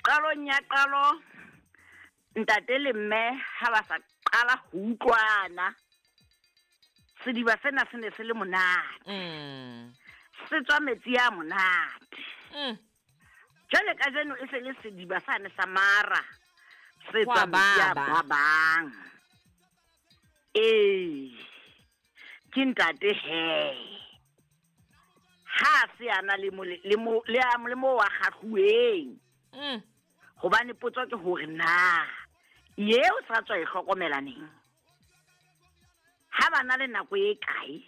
Qalong ya qalo ntate le mme ha ba sa qala ho utlwana sediba sena se ne se le monate. Se tswa metsi a monate. Jwale kajeno e se le sediba sane sa mara se Ho a tswa metsi a baba. babang. Ee, ke ntate he. Ha se a na le mo le mo le a le mo wa kgahluweng. Hobane potso ke hore na eo sa tswa e hlokomela neng? Ha ba na le nako e kae?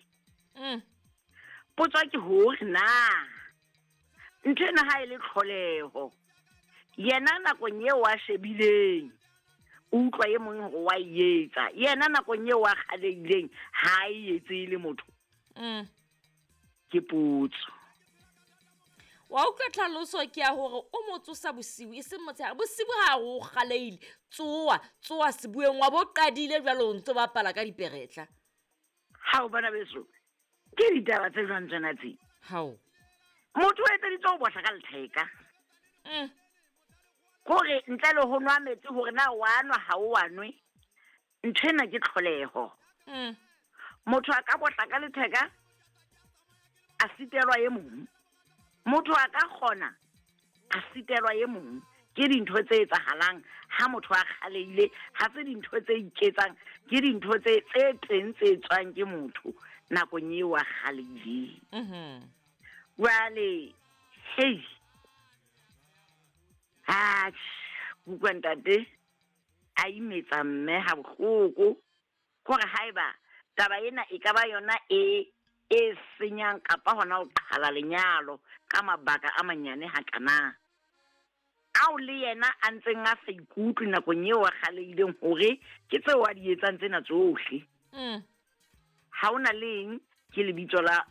Potso ke hore na ntho ena ha e le tlholeho yena nakong eo a shebileng o utlwa e mong hore wa e etsa, yena nakong eo a kgalehileng ha e etse e le motho. Ke potso. Wa utlwa tlhaloso ke ya hore o mo tsosa bosiu e seng motshehare. Bosiu ha o kgalehile, tsoa, tsoa sebueng wa bo qadile jwale o ntso bapala ka diperetla. Ha o bona beso, ke ditaba tse jwang tsena tse? Hao. Motho o etseditse ho bohla ka letheka. Kore ntle le ho nwa metsi hore na wa nwa ha o wa nwe, ntho ena ke tlholeho. Motho a ka bohla ka letheka a sitelwa e mong. Motho a ka kgona a sitelwa e mong. Ke dintho tse etsahalang ha motho a kgalehile, ha se dintho tse iketsang, ke dintho tse teng tse tswang ke motho nakong eo a kgalehileng. Jwale, hei, ha utlwa ntate a imetsa mme ha bohloko hore haeba taba ena e ka ba yona e senyang kapa hona ho qhala lenyalo ka mabaka a manyane hakana. Ao le yena a ntseng a sa ikutlwe nakong eo a kgalehileng hore ke tseo a di etsang tsena tsohle. Ha hona leng ke lebitso la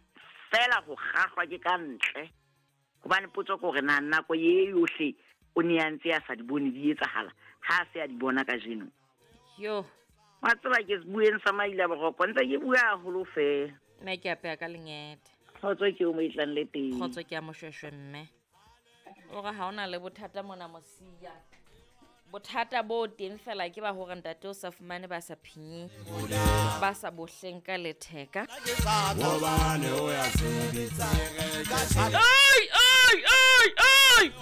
fela ho kgahlwa ke ka ntle. Hobane potso ke hore na nako e yohle o ne a ntse a sa di bone di etsahala, ha a se a di bona kajeno. Yo. Wa tseba ke bueng sa maila boroko, ntse ke bua haholo fela. Mme ke apeya ka lengete. Kgotso ke o mo e tlang le teng. Kgotso ke ya moshweshwe mme. O re ha hona le bothata mona Mosia. Bothata bo teng fela ke ba hore ntate o sa fumane ba sa phinyeng, ba sa bohleng ka letheka. Ai, ai, ai, ai!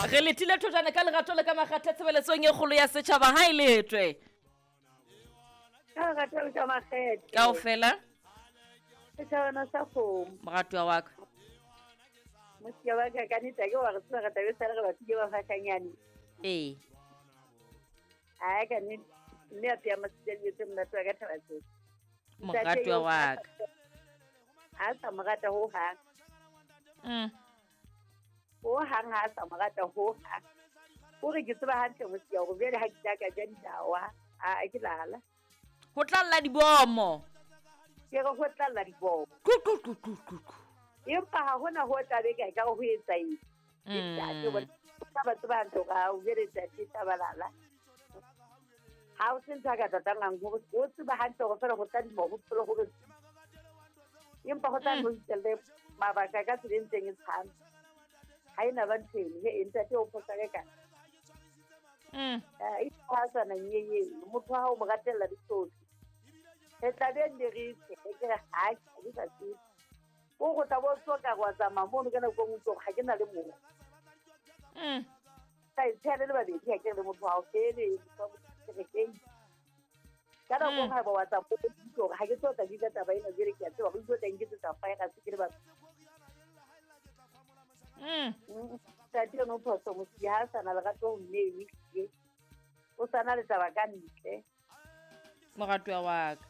Re letile thojana ka lerato le ka makgatha tshebeletsong e kgolo ya setjhaba ha e letwe. Ka lerato le ka makgethe. Kaofela. Setjhabana sa kgomo. Moratuwa wa ka. Mosia wa ka, ka nnete ha ke wa re tseba re tla be sale re batlile ba fashanyane. Ee. Ai, ka nnete, mme a pheha masitsa dijo tse monate wa ka thaba tseo. Moratuwa wa ka. Ha sa mo rata ho hang. Ho hang ha sa mo rata ho hang. O re ke tseba hantle Mosia hore jwale ha ke tla ka ja dinawa, a ke lala. Ho tla lla dibomo. Ke re ho tla lla dibomo. Ku, ku, ku, ku, ku, ku. Empa ha hona ho tla be ka ka ho etsa eng. Ntate o tla ba tseba hantle hore ha o jwale ntate tla ba lala. Ha o se ntho a ka tlatangang hore o tseba hantle hore fela ho tla dimo ho phelo hore empa ho tla no itelle mabaka ka tsela e ntseng e tshwana. Ha ena ba ntho eno, he, ntate o phosa ka ka. E ha sa na nyeye, motho ha o mo ratella ditsohle. Re tla be nne re tshe, ke re ha ke sa tsebe. O go tla bo tswa ka wa tsamaya mono ka nako e nngwe ha ke na le mong. Ka e tshela le babedi ha ke re le motho ha o fele, ke re hei. Ka nako e nngwe ha ba wa tsamaya, o utlwe hore ha ke tlo tla di taba ena jwale ke a tseba, ho tlo tla nketsetsa fire, se ke le batho. Ntate eno o phoso Mosia, ha a sa na lerato ho mme eo ehlile. O sa na le taba ka ntle. Moratuwa wa ka.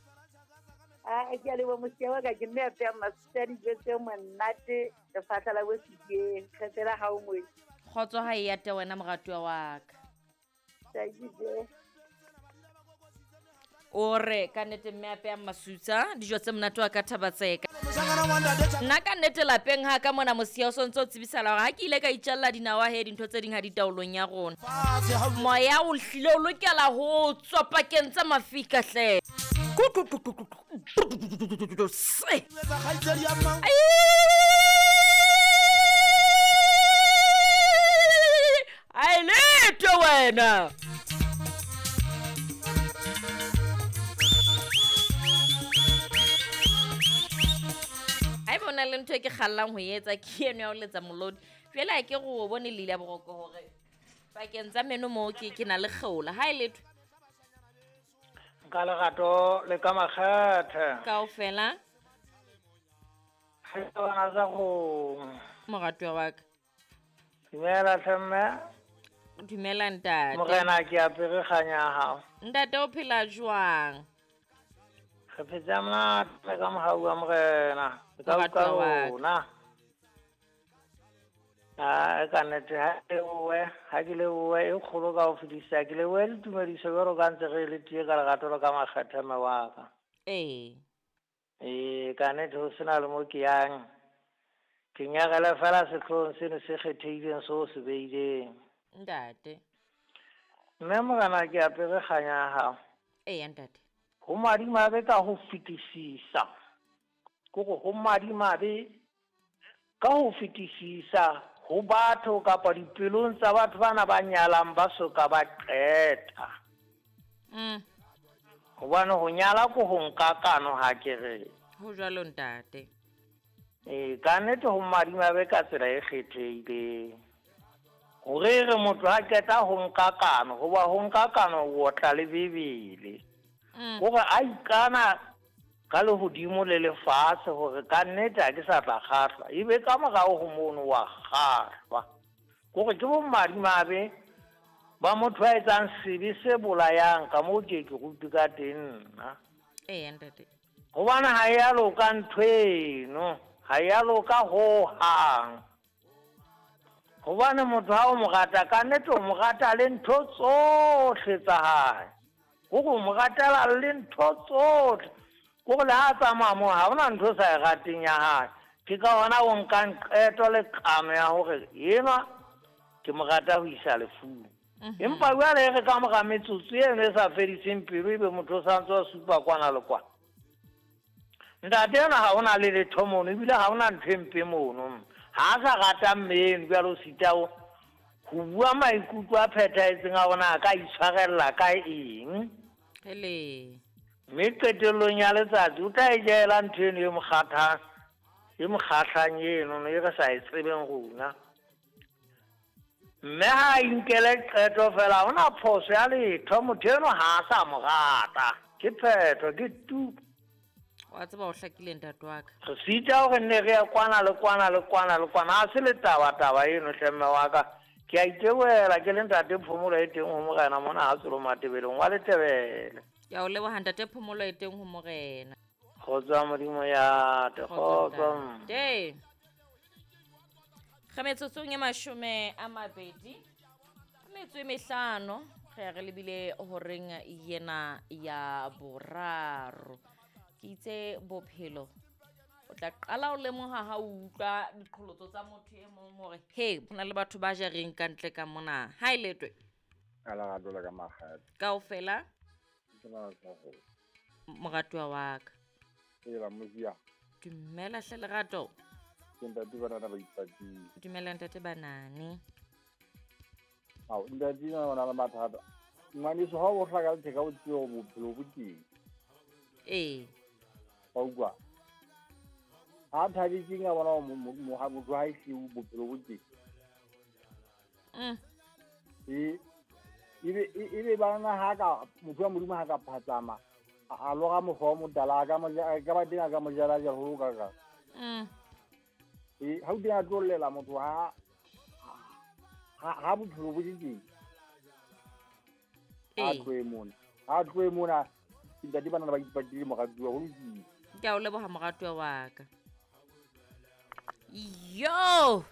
Ah, ke a leboha Mosia wa ka, ke mme a pheha masutsa dijo tse monate, lefahla la bo Sediyeng, kgethela ha o ngwetsi. Kgotso ha e ate wena moratuwa wa ka. Thank you. O re ka nnete mme a pheha masutsa dijo tse monate wa ka Thabatseka. Nna ka nnete lapeng ha ka mona Mosia o sontso o tsebisala hore ha ke ile ka itjalla dinawa he dintho tse ding ha di taolong ya rona. Moya o hlile o lokela ho tswa pakeng tsa mafika hle. Ku, ku, ku, ku, ku, ku. Se. Ai. Ai Morena. Haeba o na le ntho e ke kgallang ho e etsa ke eno ya ho letsa molodi. Jwale ha ke go bone leile boroko hore pakeng tsa meno moo ke na le kgeola. Ha e letho. Ka lerato le ka makgethe. Kaofela. Ha bana tsa go. Moratuwa wa ka. Dumela hle mme. Dumela ntate. Morena ke apere kganya ya hao. Ntate o phela jwang? Re phetse monate ka mohau wa morena. Ka utlwa rona. A ka nnete ha ke lebohe e kgolo ka ho fetisisa, ke lebohe le tumediso jwalo ka ntse re le tie ka lerato le ka makgethe mme wa ka. Ee. Ee, ka nnete ho sena le mo ke yang. Ke nyarele fela sehloohong seno se kgethehileng seo se beileng. Ntate. Mme morena ke apere kganya ya hao. Ee, ntate. Ho madimabe ka ho fetisisa. Kore ho madimabe ka ho fetisisa ho batho kapa dipelong tsa batho bana ba nyalang ba soka ba qeta. Hobane ho nyala ko ho nka kano ha ke re. Ho jwalo ntate. Ee, ka nnete ho madimabe ka tsela e kgethehileng. Hore re motho ha qeta ho nka kano, hoba ho nka kano o otla le Bibele. Hore a ikana ka lehodimo le lefatshe hore ka nnete ha ke sa tla kgahlwa, ebe ka morao ho mono wa kgahlwa. Kore ke bomadimabe ba motho a etsang sebe se bolayang ka moo ke ke rutwe ka teng nna. Ee, ntate. Hobane ha e a loka ntho eno, ha e a loka hohang. Hobane motho ha o mo rata, ka nnete o mo rata le ntho tsohle tsa hae. Kore o mo ratela le ntho tsohle. Kore le ha tsamaya moo ha hona ntho sa e rateng ya hae. Ke ka hona o nkang qeto le kano ya hore enwa ke mo rata ho isa lefung. Empa jwale re ka mora metsotso eno e sa fediseng pelo ebe motho o santse a supa kwana le kwana. Ntate ena ha hona le letho mono, ebile ha hona ntho e mpe mono. Ha a sa rata mme eno jwale o sita ho bua maikutlo a phethahetseng a bona a ka itshwarella ka eng. Hele. Mme qetellong ya letsatsi o tla e jela ntho eno e mo kgathang, e mo kgahlang eno e re sa e tsebeng rona. Mme ha a inkele qeto fela, ha hona phoso ya letho, motho eno ha a sa mo rata. Ke phetho, ke tu. Wa tseba o hlakile ntate wa ka. Re sita hore nne re ya kwana le kwana le kwana le kwana. Ha se le taba eno hle mme wa ka. Ke a itebohela ke le ntate Phomolo e teng ho morena mona ha Tsolo Matebeleng wa Letebele. Ke a o leboha ntate Phomolo e teng ho morena. Kgotso ya Modimo ya te, kgotso. Ntate. Re metsotsong e 25 metso e 5 re re lebile horeng yena ya boraro. Ke itse bophelo o tla qala o lemoha ha o utlwa diqholotso tsa motho e mong hore he hona le batho ba jareng ka ntle ka mona. Ha e letwe. Ka lerato le ka makgethe. Kaofela. Moratuwa wa ka. Ela mosia. Dumela hle lerato. Ke ntate banana ba ipatile. Dumela ntate banane. Ao ntate na bana le mathata. Ngwaneso ha o hlaka letheka o tsebe hore bophelo bo teng. Ee. Wa utlwa? Ha thabetseng a bona hore motho ha e siyo bophelo bo teng. Ebe bana ha ka motho wa Modimo ha ka phatsama a lora mokgwa wa motala a ka ba teng a ka mo jala jala ho ka ka. Ha o teng a tlo llela motho ha bophelo bo teng. Ha tlohe mona. Ntate banana ba ipatile moratuwa ho lokile. Ke a o leboha moratuwa wa ka. Yo!